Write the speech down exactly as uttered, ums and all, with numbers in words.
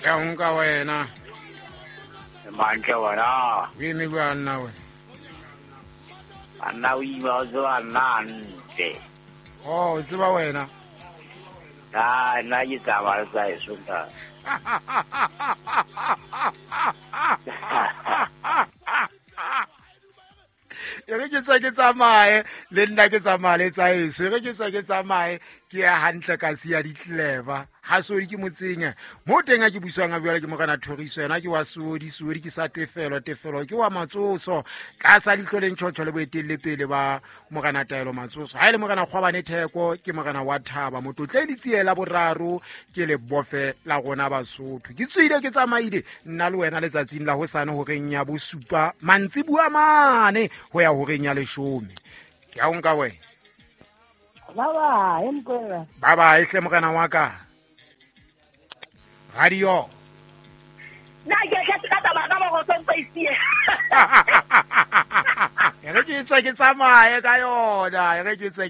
Ke a nka wena. Mantle wena. O eme jwang nna wena? Nna o ima o tseba nna hantle. Oh, o tseba wena? Ah, nna ke tsamaya le tsa heso ntate. E re ke tswa ke tsamaye le nna ke tsamaya le tsa heso. E re ke tswa ke tsamaye ke ya hantle ka siya ditleva. Ha Sodi ke motseng mo teng a ke buswang a jwale ke morena Thoriso, yena ke wa Sodi, Sodi ke sa Tefelo, Tefelo ke wa Matsotso, tlasa leihlo le ntjhotjho le boetelle pele ba morena Taelo Matsotso. Ha e le morena Kgwabane Theko ke morena wa Thaba, motlotle le tsiela boraro ke le bofe la rona Basotho. Ke tswile ke tsamaile nna le wena letsatsing la hosane horeng ya bosupa mantsibuya mane ho ya horeng ya leshome. Ke a o nka wena. Ba ba, empa. Ba ba ehle morena wa ka. Radio. Na ke ke ka taba ka mo go ntse. E re ke tswe ke tsamaye ka yona, e re ke tswe